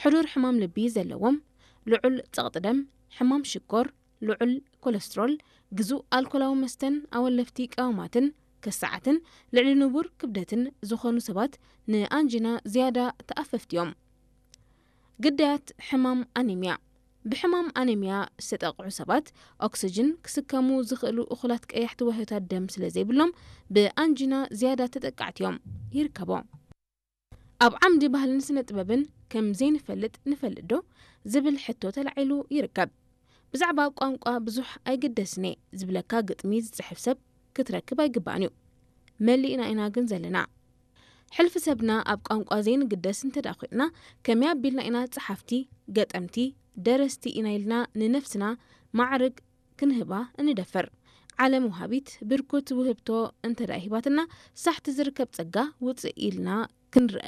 ሕዱር ሕማም ልቢ ዘለዎም፣ ልዑል ጸቕጢ ደም፣ ሕማም ሽኮር፣ ልዑል ኮለስትሮል፣ ግዙእ ኣልኮላዊ መስተን ኣወለፍቲ ቀመማትን፣ ከሳዓትን ልዕሊ ንቡር ክብደትን ዝኾኑ ሰባት ንኣንጂና ዝያዳ ተኣፈፍቲ እዮም። ግዳያት ሕማም ኣኔምያ። ብሕማም ኣኔምያ ዝተጠቕዑ ሰባት ኦክስጅን ክስከሙ ዝኽእሉ እኹላት ቀያሕቲ ዋህዮታት ደም ስለ ዘይብሎም ብኣንጂና ዝያዳ ተጠቃዕቲ እዮም። ይርከቦ። ኣብ ዓምዲ ባህልን ስነ ጥበብን ከም ዘይንፈልጥ ንፈልጥ ዶ ዝብል ሕቶ ተላዒሉ ይርከብ። ብዛዕባ ቋንቋ ብዙሕ ኣይግደስን እየ ዝብለካ ግጥሚ ዝጽሕፍ ሰብ ክትረክብ ኣይግባእን እዩ። መሊእና ኢና ግን ዘለና። ሕልፊ ሰብና ኣብ ቋንቋ ዘይንግደስ እንተ ደኣ ኮይንና፣ ከመይ ኣቢልና ኢና ጸሓፍቲ፣ ገጠምቲ፣ ደረስቲ ኢና ኢልና ንነፍስና ማዕርግ ክንህባ እንደፍር? ዓለም ወሃቢት ብርኩት ውህብቶ እንተ ደኣ ሂባትና፣ ሳሕቲ ዝርከብ ጸጋ ውጽእ ኢልና ክንርአ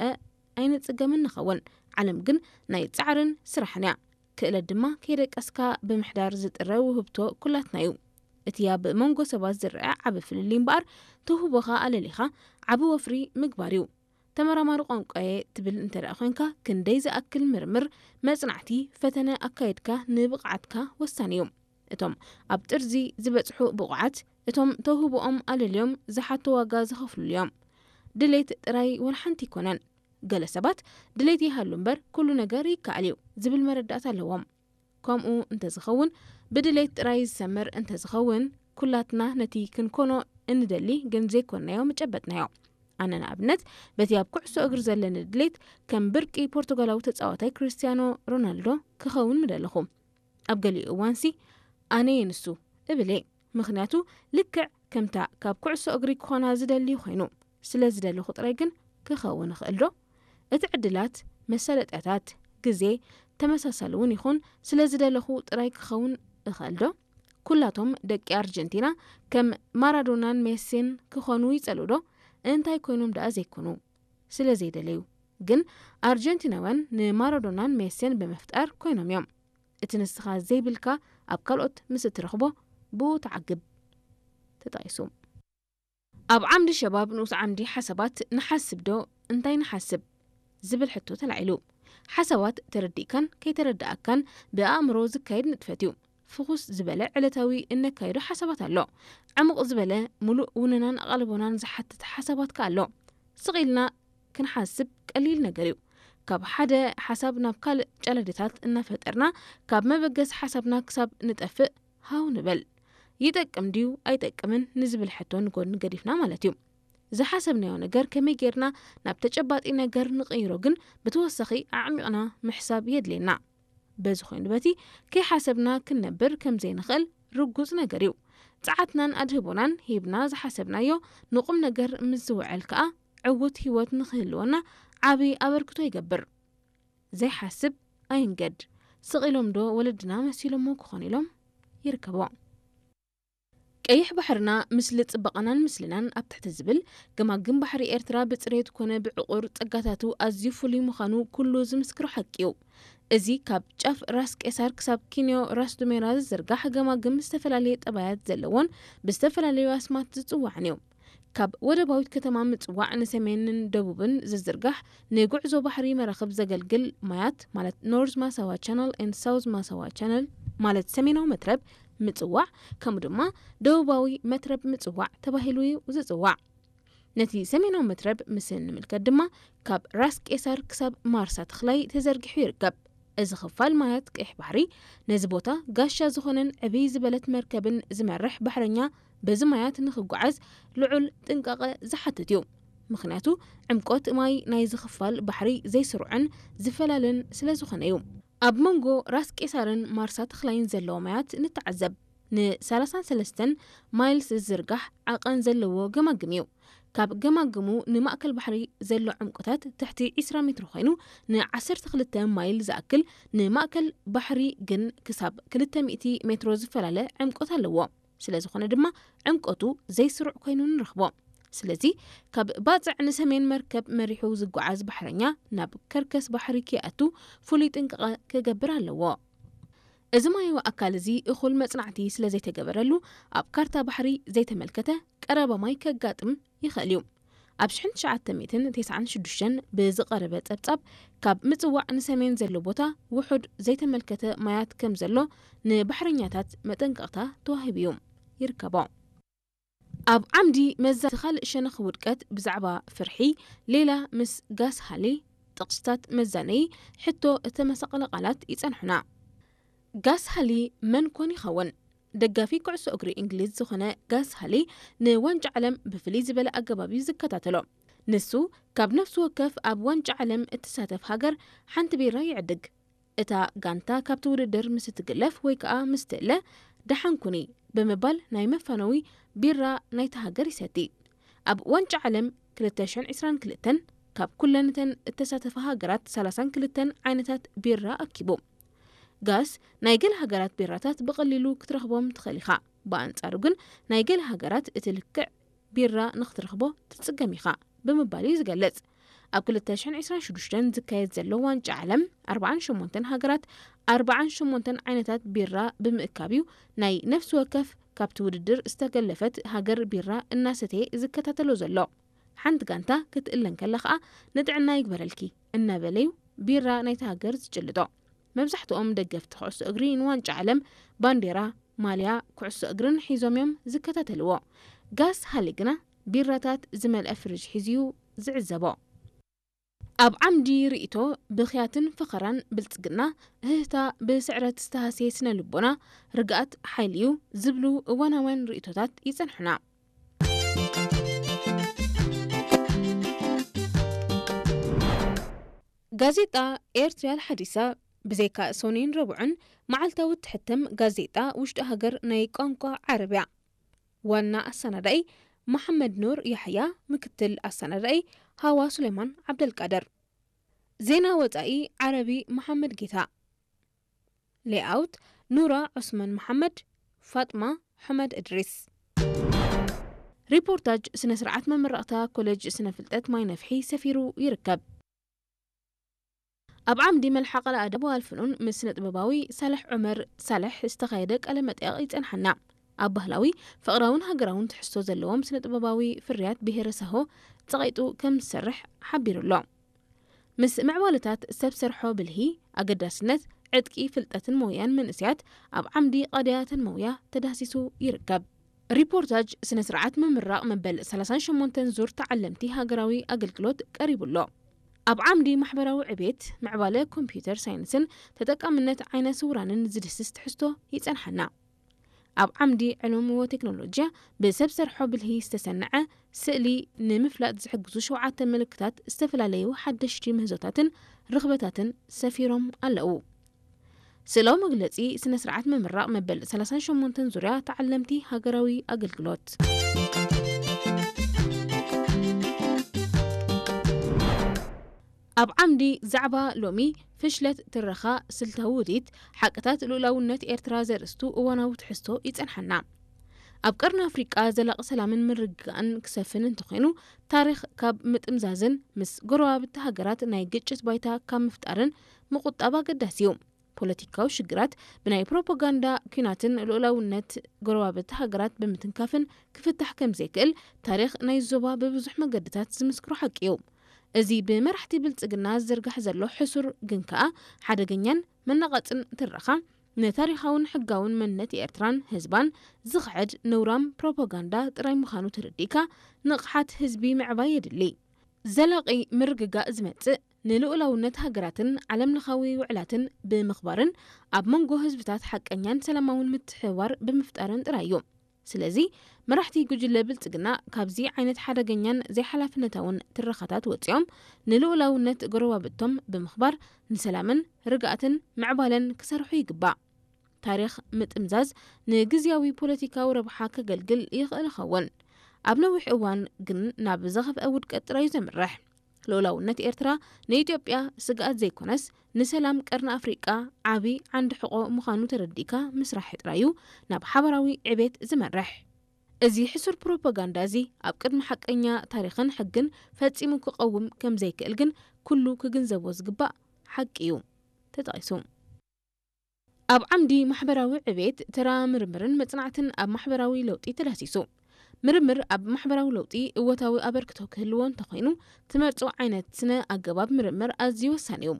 ኣይንጽገምን ንኸውን። ዓለም ግን ናይ ጻዕርን ስራሕን እያ። ክእለት ድማ ከይደቀስካ ብምሕዳር ዝጥረ ውህብቶ ኩላትና እዩ። እቲ ኣብ መንጎ ሰባት ዝረኣ ዓቢ ፍልልይ እምበኣር፣ ተውህቦኻ ኣለሊኻ ዓቢ ወፍሪ ምግባር እዩ። ተመራማሪ ቋንቋየ ትብል እንተ ደኣ ኮይንካ፣ ክንደይ ዝኣክል ምርምር፣ መጽናዕቲ፣ ፈተነ ኣካይድካ ንብቕዓትካ ወሳኒ እዩ። እቶም ኣብ ጥርዚ ዝበጽሑ ብቑዓት፣ እቶም ተውህቦኦም ኣለልዮም ዝሓቶ ዋጋ ዝኸፍሉሉ እዮም። ድሌት ጥራይ ወላ ሓንቲ ኣይኮነን። ገለ ሰባት ድሌት ይሃሉ እምበር ኩሉ ነገር ይከኣል እዩ ዝብል መረዳእታ ኣለዎም። ከምኡ እንተዝኸውን፣ ብድሌት ጥራይ ዝሰምር እንተዝኸውን፣ ኩላትና ነቲ ክንኮኖ እንደሊ ግን ዘይኮንናዮ ምጨበጥናዮ። ኣነ ንኣብነት በቲ ኣብ ኩዕሶ እግሪ ዘለኒ ድሌት ከም ብርቂ ፖርቱጋላዊ ተጻዋታይ ክርስቲያኖ ሮናልዶ ክኸውን ምደለኹ። ኣብ ገሊኡ እዋንሲ ኣነ እየ ንሱ እብል እየ። ምኽንያቱ ልክዕ ከምታ ካብ ኩዕሶ እግሪ ክኾና ዝደሊ ኮይኑ፣ ስለ ዝደለኹ ጥራይ ግን ክኸውን እኽእል ዶ? እቲ ዕድላት፣ መሳለጥያታት፣ ግዜ ተመሳሳሊ እውን ይኹን፣ ስለ ዝደለኹ ጥራይ ክኸውን እኽእል ዶ? ኩላቶም ደቂ ኣርጀንቲና ከም ማራዶናን ሜሲን ክኾኑ ይጸልኡ ዶ? እንታይ ኮይኖም ደኣ ዘይኮኑ? ስለ ዘይደለዩ። ግን ኣርጀንቲናውያን ንማራዶናን ሜሲን ብምፍጣር ኮይኖም እዮም። እቲ ንስኻ ዘይብልካ ኣብ ካልኦት ምስ እትረኽቦ ብኡ ትዓግብ። ተጠቒሱ። ኣብ ዓምዲ ሸባብ ንኡስ ዓምዲ ሓሳባት ንሓስብ ዶ እንታይ ንሓስብ ዝብል ሕቶ ተላዒሉ። ሓሳባት ተረዲእካን ከይተረዳእካን ብኣእምሮ ዝካየድ ንጥፈት እዩ። ፍኹስ ዝበለ ዕለታዊ እነካይዶ ሓሳባት ኣሎ። ዕሙቕ ዝበለ ምሉእ ውነናን ኣቓልቦናን ዝሓትት ሓሳባት ከኣ ኣሎ። ስቕ ኢልና ክንሓስብ ቀሊል ነገር እዩ። ካብ ሓደ ሓሳብ ናብ ካልእ ጨለድታት እናፈጠርና ካብ መበገሲ ሓሳብና ክሳብ ንጠፍእ ሃው ንበል። ይጠቅም ድዩ ኣይጠቅምን ንዝብል ሕቶ ንጎድኒ ገዲፍና ማለት እዩ። ዝሓሰብናዮ ነገር ከመይ ጌርና ናብ ተጨባጢ ነገር ንቕይሮ ግን ብተወሳኺ ኣዕሚቕና ምሕሳብ የድልየና። በዚ ኮይኑ በቲ ከይሓሰብና ክንነብር ከም ዘይንኽእል ርጉጽ ነገር እዩ። ጸዓትናን ኣድህቦናን ሂብና ዝሓሰብናዮ ንቑም ነገር ምስ ዝውዕል ከኣ ዕዉት ህይወት ንኽህልወና ዓቢ ኣበርክቶ ይገብር። ዘይሓስብ ኣይንገድ። ስቕ ኢሎም ዶ ወለድና መሲሎሞ ክኾኑ ኢሎም ይርከቦ። ቀይሕ ባሕርና፣ ምስሊ ጽባቐናን ምስልናን ኣብ ትሕቲ ዝብል፣ ገማግም ባሕሪ ኤርትራ ብጽሬት ኮነ ብዕቑር ጸጋታቱ ኣዝዩ ፍሉይ ምዃኑ ኩሉ ዝምስክሮ ሓቂ እዩ። እዚ ካብ ጫፍ ራስ ቄሳር ክሳብ ኪንዮ ራስ ዱሜራ ዝዝርጋሕ ገማግም ዝተፈላለየ ጠባያት ዘለዎን ብዝተፈላለዩ ኣስማት ዝጽዋዕን እዩ። ካብ ወደባዊት ከተማ ምጽዋዕ ንሰሜንን ደቡብን ዝዝርጋሕ ንጉዕዞ ባሕሪ መራኽብ ዘገልግል ማያት ማለት ኖርዝ ማሳዋ ቻነል ኤንድ ሳውዝ ማሳዋ ቻነል ማለት ሰሜናዊ መትረብ ምጽዋዕ ከምኡ ድማ ደቡባዊ መትረብ ምጽዋዕ ተባሂሉ እዩ ዝጽዋዕ። ነቲ ሰሜናዊ መትረብ ምስ እንምልከት ድማ ካብ ራስ ቄሳር ክሳብ ማርሳ ተኽላይ ተዘርጊሑ ይርከብ። እዚ ክፋል ማያት ቀይሕ ባሕሪ ነዚ ቦታ ጋሻ ዝኾነን ዕብይ ዝበለት መርከብን ዝመርሕ ባሕረኛ በዚ ማያት ንኽጓዓዝ ልዑል ጥንቃቐ ዝሓትት እዩ። ምኽንያቱ ዕምቆት ማይ ናይዚ ክፋል ባሕሪ ዘይስሩዕን ዝፈላለን ስለ ዝኾነ እዩ። ኣብ መንጎ ራስ ቄሳርን ማርሳ ተኽላይን ዘለዎ ማያት ንተዓዘብ። ን ሰላሳን ሰለስተን ማይልስ ዝዝርጋሕ ዓቐን ዘለዎ ገማግም እዩ። ካብ ገማግሙ ንማእከል ባሕሪ ዘሎ ዕምቆታት ትሕቲ ዕስራ ሜትሮ ኮይኑ፣ ን ዓሰርተ ክልተ ማይል ዝኣክል ንማእከል ባሕሪ ግን ክሳብ ክልተ ሚእቲ ሜትሮ ዝፈላለ ዕምቆት ኣለዎ። ስለ ዝኾነ ድማ ዕምቆቱ ዘይስሩዕ ኮይኑ ንረኽቦ። ስለዚ ካብ ባጽዕ ንሰሜን መርከብ መሪሑ ዝጓዓዝ ባሕረኛ ናብ ከርከስ ባሕሪ ከይኣቱ ፍሉይ ጥንቃቐ ክገብር ኣለዎ። እዚ ማያዊ ኣካል እዚ እኹል መጽናዕቲ ስለ ዘይተገበረሉ ኣብ ካርታ ባሕሪ ዘይተመልከተ ቀረባ ማይ ከጋጥም ይኽእል እዩ። ኣብ ሽሕን ትሽዓተ ሚእትን ተስዓን ሽዱሽተን ብዝቐረበ ጸብጻብ፣ ካብ ምጽዋዕ ንሰሜን ዘሎ ቦታ ውሑድ ዘይተመልከተ ማያት ከም ዘሎ ንባሕረኛታት መጠንቀቕታ ተዋሂቡ እዩ። ይርከቦ። ኣብ ዓምዲ መዛ እቲ ካልእ ሸነኽ ውድቀት ብዛዕባ ፍርሒ፣ ሌላ ምስ ጋስ ሃሊ ጥቕስታት መዛነዪ ሕቶ እተመሳቐለ ቃላት ይጸንሑና። ጋስ ሃሊ መን ኮን ይኸውን? ደጋፊ ኩዕሶ እግሪ እንግሊዝ ዝኾነ ጋስ ሃሊ ንዋንጫ ዓለም ብፍልይ ዝበለ ኣገባብ እዩ ዝከታተሎ። ንሱ ካብ ነፍሲ ወከፍ ኣብ ዋንጫ ዓለም እትሳተፍ ሃገር ሓንቲ ቢራ ይዕድግ። እታ ጋንታ ካብቲ ውድድር ምስ እትግለፍ ወይ ከኣ ምስ ትእለ ደሓን ኩኒ ብምባል ናይ መፋነዊ ቢራ ናይታ ሃገር ይሰቲ። ኣብ ዋንጫ ዓለም ክልተ ሽሕን ዕስራን ክልተን ካብ ኩለን እተን እተሳተፋ ሃገራት ሰላሳን ክልተን ዓይነታት ቢራ ኣኪቡ። ጋስ ናይ ገለ ሃገራት ቢራታት ብቐሊሉ ክትረኽቦም ትኽእል ኢኻ። ብኣንጻሩ ግን ናይ ገለ ሃገራት እቲ ልክዕ ቢራ ንኽትረኽቦ ትጽገም ኢኻ ብምባል እዩ ዝገልጽ። ኣብ ክልተ ሽሕን ዕስራን ሽዱሽተን ዝካየድ ዘሎ ዋንጫ ዓለም ኣርባዓን ሸሞንተን ሃገራት ኣርባዓን ሸሞንተን ዓይነታት ቢራ ብምእካብ እዩ ናይ ነፍሲ ወከፍ ካብቲ ውድድር ዝተገለፈት ሃገር ቢራ እናሰተየ ዝከታተሎ ዘሎ። ሓንቲ ጋንታ ክትእለ እንከላ ኸኣ "ንጥዕና ይግበረልኪ" እናበለ እዩ ቢራ ናይታ ሃገር ዝጭልጦ። መብዛሕትኦም ደገፍቲ ኩዕሶ እግሪ ንዋንጫ ዓለም ባንዴራ፣ ማልያ፣ ኩዕሶ እግርን ሒዞም እዮም ዝከታተልዎ። ጋስ ሃሊ ግና ቢራታት ዝመልአ ፍሪጅ ሒዙ እዩ ዝዕዘቦ። ኣብ ዓምዲ ርእይቶ፣ ብኽያትን ፈኸራን ብልጽግና፣ እህህታ ብስዕረት ዝተሃስየ ስነ ልቦና፣ ርግኣት ሓይሊ እዩ ዝብሉ እዋናውያን ርእይቶታት ይጸንሑና። ጋዜጣ ኤርትሪያል ሓዲሳ፣ ብዘይካ ሰኑይን ረቡዕን፣ መዓልታዊ እትሕተም ጋዜጣ ውሽጢ ሃገር ናይ ቋንቋ ዓረብያ። ዋና ኣሰናዳኢ መሓመድ ኑር ያሕያ፣ ምክትል ኣሰናዳኢ ሃዋ ሱሌማን ዓብደልቃድር። ዜና ወጻኢ ዓረቢ መሓመድ ጌታ። ሌኣውት ኑራ ዑስማን መሓመድ፣ ፋጥማ ሑመድ እድሪስ። ሪፖርታጅ ስነ ስርዓት መመረቕታ ኮሌጅ ስነ ፍልጠት ማይ ነፍሒ ሰፊሩ ይርከብ። ኣብ ዓምዲ መልሓቕ ለኣደብ ወኣልፍኑን ምስ ስነ ጥበባዊ ሳልሕ ዑመር ሳልሕ ዝተኻየደ ቃለ መጠይቕ ይጸንሓና። ኣብ ባህላዊ፣ ፍቕራውን ሃገራውን ትሕዝቶ ዘለዎም ስነ ጥበባዊ ፍርያት ብሄረ ሳሆ ጸቒጡ ከም ዝሰርሕ ሓቢሩ ኣሎ። ምስ ምዕባለታት ሰብ ሰርሖ ብልሂ፣ ኣገዳስነት ዕጥቂ ፍልጠትን ሞያን መንእሰያት ኣብ ዓምዲ ቀዳያትን መውያ ተዳህሲሱ ይርከብ። ሪፖርታጅ ስነ ስርዓት ምምራቕ መበል ሰላሳን ሸሞንተን ዙር ተዓለምቲ ሃገራዊ ኣገልግሎት ቀሪቡ ኣሎ። ኣብ ዓምዲ ማሕበራዊ ዕቤት፣ ምዕባለ ኮምፒውተር ሳይንስን ተጠቃምነት ዓይነ ስውራንን ዝድህስስ ትሕዝቶ ይጸንሓና። ኣብ ዓምዲ ዕሉም ወቴክኖሎጂያ፣ ብሰብ ሰርሖ ብልሂ ዝተሰነዐ ስእሊ ንምፍላጥ ዝሕግዙ ሸውዓተ ምልክታት ዝተፈላለዩ ሓደሽቲ ምህዞታትን ርኽበታትን ሰፊሮም ኣለዉ። ስእላዊ መግለጺ ስነ ስርዓት ምምራቕ መበል ሰላሳን ሸሞንተን ዙርያ ተዓለምቲ ሃገራዊ ኣገልግሎት። ኣብ ዓምዲ ዛዕባ ሎሚ፣ ፍሽለት ትረኻ፣ ስልታዊ ውዲት፣ ሓቅታት ልኡላውነት ኤርትራ ዘርእስቱ እዋናዊ ትሕዝቶ ይጸንሓና። ኣብ ቀርኒ ኣፍሪቃ ዘላቒ ሰላምን ምርግጋእን ክሰፍን እንተኾይኑ፣ ታሪኽ ካብ ምጥምዛዝን ምስ ጎረባብቲ ሃገራት ናይ ግጭት ባይታ ካብ ምፍጣርን ምቁጣብ ኣገዳሲ እዩ። ፖለቲካዊ ሽግራት ብናይ ፕሮፓጋንዳ ኲናትን ልኡላውነት ጎረባብቲ ሃገራት ብምትንካፍን ክፍታሕ ከም ዘይክእል ታሪኽ ናይ ዞባ ብብዙሕ መገድታት ዝምስክሮ ሓቂ እዩ። እዚ ብመራሕቲ ብልጽግና ዝዝርጋሕ ዘሎ ሕሱር ግን ከኣ ሓደገኛን መናቐጽን ትረኻ፣ ንታሪኻውን ሕጋውን መንነት ኤርትራን ህዝባን ዝኽሕድ ነውራም ፕሮፓጋንዳ ጥራይ ምዃኑ ተረዲእካ፣ ንቕሓት ህዝቢ ምዕባይ የድሊ። ዘላቒ ምርግጋእ ዝመጽእ ንልኡላውነት ሃገራትን ዓለምለኻዊ ውዕላትን ብምኽባርን ኣብ መንጎ ህዝብታት ሓቀኛን ሰላማውን ምትሕብባር ብምፍጣርን ጥራይ እዩ። ስለዚ፣ መራሕቲ ጉጅለ ብልጽግና ካብዚ ዓይነት ሓደገኛን ዘይሓላፍነታውን ትረኻታት ወጺኦም፣ ንልኡላውነት ጎረባብቶም ብምኽባር፣ ንሰላምን ርግኣትን ምዕባለን ክሰርሑ ይግባእ። ታሪኽ ምጥምዛዝ ንግዝያዊ ፖለቲካዊ ረብሓ ከገልግል ይኽእል ይኸውን፣ ኣብ ነዊሕ እዋን ግን ናብ ዝኸፍአ ውድቀት ጥራይ እዩ ዘምርሕ። ልኡላውነት ኤርትራ ንኢትዮጵያ ስግኣት ዘይኮነስ፣ ንሰላም ቀርኒ ኣፍሪቃ ዓቢ ዓንዲ ሕቖ ምዃኑ ተረዲእካ ምስራሕ ጥራይ እዩ ናብ ሓባራዊ ዕቤት ዝመርሕ። እዚ ሕሱር ፕሮፓጋንዳ እዚ ኣብ ቅድሚ ሓቀኛ ታሪኽን ሕግን ፈጺሙ ክቐውም ከም ዘይክእል ግን ኩሉ ክግንዘቦ ዝግባእ ሓቂ እዩ ተጠቒሱ። ኣብ ዓምዲ ማሕበራዊ ዕቤት፣ ተራ ምርምርን መጽናዕትን ኣብ ማሕበራዊ ለውጢ ተዳህሲሱ። ምርምር ኣብ ማሕበራዊ ለውጢ እወታዊ ኣበርክቶ ክህልዎ እንተኾይኑ፣ ትመርጾ ዓይነት ስነ ኣገባብ ምርምር ኣዝዩ ወሳኒ እዩ።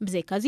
ብዘይካዚ፣